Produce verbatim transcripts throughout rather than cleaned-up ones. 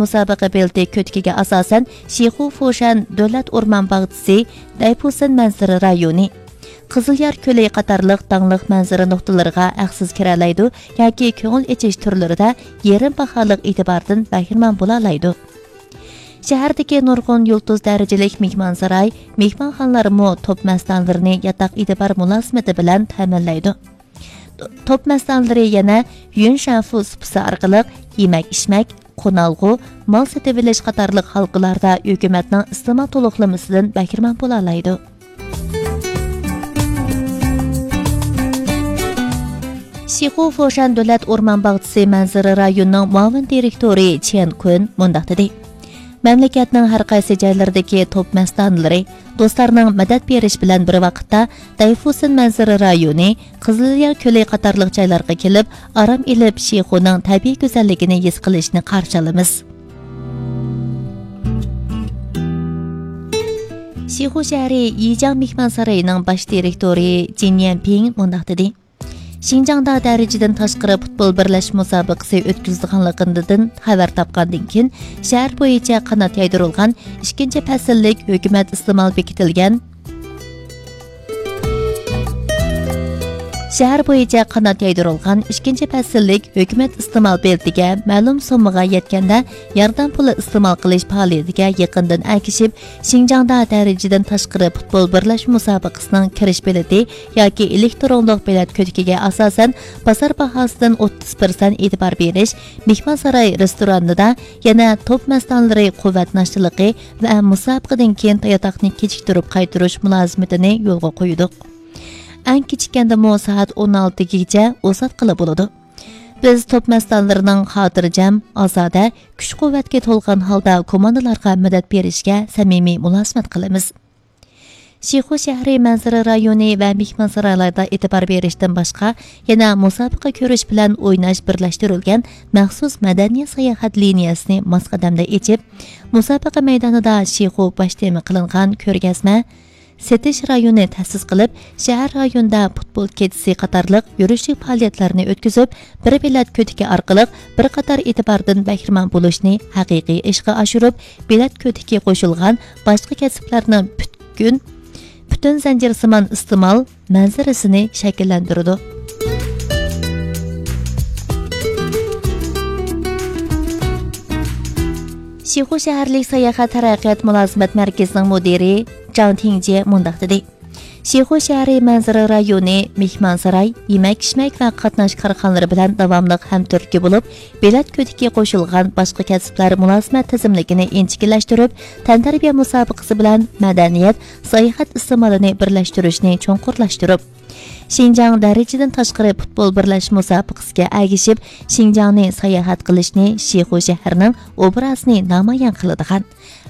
مۇسابىقە بېلىتى كۆتىكىگە ئاساسەن، شىخۇ فوشەن دۆلەت ئورمان باغچىسى، دەيفۇسەن مەنزىرە رايونى، قىزىليار كۆلى قاتارلىق داڭلىق مەنزىرە نۇقتىلىرىغا ھەقسىز كىرەلەيدۇ ياكى كۆڭۈل ئېچىش تۈرلىرىدە يېرىم باھالىق ئېتىباردىن بەھرىمەن بولالايدۇ. شەھەردىكى نۇرغۇن يۇلتۇز دەرىجىلىك مېھمانساراي، مېھمانخانىلارمۇ توپ مەستانىلىرىنى ياتاق ئېتىبار مۇلازىمىتى بىلەن تەمىنلەيدۇ. توپ مەستانىلىرى يەنە يۈن شەنفۇ سۇپىسى ئارقىلىق يېمەك-ئىچمەك، قونالغۇ، مال سېتىۋېلىش قاتارلىق ھالقىلاردا ھۆكۈمەتنىڭ ئىستېمال تولۇقلىمىسىدىن بەھرىمەن بولالايدۇ. شىخۇ فوشەن دۆلەت ئورمان باغچىسى مەنزىرە رايونىنىڭ مۇئاۋىن دىرېكتورى چيەن كۇن مۇنداق دېدى: مەملىكەتنىڭ ھەر قايسى جايلىرىدىكى توپ مەستانىلىرى دوستلارنىڭ مەدەت بېرىشى بىلەن بىر ۋاقىتتا، دەيفۇسىن مەنزىرە رايونى، قىزىليار كۆلى قاتارلىق جايلارغا كېلىپ، ئارام ئېلىپ، شىخۇنىڭ تەبىئىي گۈزەللىكىنى ھېس قىلىشنى قارشى ئالىمىز. شىخۇ شەھىرى يىجياڭ مېھمانسارىيىنىڭ باش دىرېكتورى جىن يەنپىڭ مۇنداق دېدى: شىنجاڭدا دەرىجىدىن تاشقىرى پۇتبول بىرلەشمە مۇسابىقىسى ئۆتكۈزۈلىدىغانلىقىدىن خەۋەر تاپقاندىن كېيىن، شەھەر بويىچە قانات يايدۇرۇلغان ئىككىنچى پەسىللىك ھۆكۈمەت ئىستېمال بېكىتىلگەن، شەھەر بويىچە قانات يايدۇرۇلغان ئىككىنچى پەسىللىك ھۆكۈمەت ئىستېمال بېلىتىگە مەلۇم سوممىغا يەتكەندە ياردەم پۇلى ئىستېمال قىلىش پائالىيىتىگە يېقىندىن ئەگىشىپ، شىنجاڭدا دەرىجىدىن تاشقىرى پۇتبول بىرلەشمە مۇسابىقىسىنىڭ كىرىش بېلىتى ياكى ئېلېكترونلۇق بېلەت كۆتىكىگە ئاساسەن، بازار باھاسىدىن ئوتتۇز پىرسەنت ئېتىبار بېرىش، مېھمانساراي رېستورانىدا يەنە توپ مەستانىلىرى قۇۋۋەت ناشتىلىقى ۋە مۇسابىقىدىن كېيىن ياتاقنى كېچىكتۈرۈپ قايتۇرۇش مۇلازىمىتىنى يولغا قويدۇق. ئەڭ كېچىككەندىمۇ سائەت ئون ئالتىگىچە ئۇزارتقىلى بولىدۇ. بىز توپ مەستانىلىرىنىڭ خاتىرجەم، ئازادە، كۈچ-قۇۋۋەتكە تولغان ھالدا كوماندىلارغا مەدەت بېرىشكە سەمىمىي مۇلازىمەت قىلىمىز. شىخۇ شەھىرى مەنزىرە رايونى ۋە مېھمانسارايلاردا ئېتىبار بېرىشتىن باشقا، يەنە مۇسابىقە كۆرۈش بىلەن ئويناش بىرلەشتۈرۈلگەن مەخسۇس مەدەنىيەت ساياھەت لىنىيەسىنى ماس قەدەمدە ئېچىپ، مۇسابىقە مەيدانىدا شىخۇ باش تېما قىلىنغان كۆرگەزمە، سېتىش رايونى تەسىس قىلىپ، شەھەر رايونىدا پۇتبول كېچىسى قاتارلىق يۈرۈشلۈك پائالىيەتلەرنى ئۆتكۈزۈپ، بىر بېلەت كۆتىكى ئارقىلىق بىر قاتار ئېتىباردىن بەھرىمەن بولۇشنى ھەقىقىي ئىشقا ئاشۇرۇپ، بېلەت كۆتىكى قوشۇلغان باشقا كەسىپلەرنىڭ پۈتكۈن، پۈتۈن زەنجىرسىمان ئىستېمال مەنزىرىسىنى شەكىللەندۈرىدۇ. شىخۇ شەھەرلىك ساياھەت تەرەققىيات مۇلازىمەت مەركىزىنىڭ مۇدىرى جاڭ تىڭجيې مۇنداق دېدى: شىخۇ شەھىرى مەنزىرە رايونى مېھمانساراي، يېمەك-ئىچمەك ۋە قاتناش كارخانىلىرى بىلەن داۋاملىق ھەمتۈرتكە بولۇپ، بېلەت كۆتىكى قوشۇلغان باشقا كەسىپلەر مۇلازىمەت تىزىملىكىنى ئىنچىكىلەشتۈرۈپ، تەنتەربىيە مۇسابىقىسى بىلەن مەدەنىيەت، ساياھەت ئىستېمالىنى بىرلەشتۈرۈشنى چوڭقۇرلاشتۇرۇپ، شىنجاڭ دەرىجىدىن تاشقىرى پۇتبول بىرلەشمە مۇسابىقىسىگە ئەگىشىپ، شىنجاڭنى ساياھەت قىلىشنى، شىخۇ شەھىرىنىڭ ئوبرازىنى نامايان قىلىدىغان،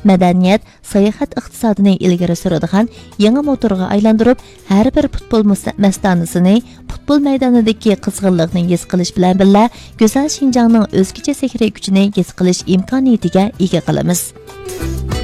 مەدەنىيەت، ساياھەت ئىقتىسادىنى ئىلگىرى سۈرىدىغان يېڭى موتورغا ئايلاندۇرۇپ، ھەر بىر پۇتبول مۇس-، مەستانىسىنى پۇتبول مەيدانىدىكى قىزغىنلىقنى ھېس قىلىش بىلەن بىللە، گۈزەل شىنجاڭنىڭ ئۆزگىچە سېھرىي كۈچىنى ھېس قىلىش ئىمكانىيىتىگە ئىگە قىلىمىز.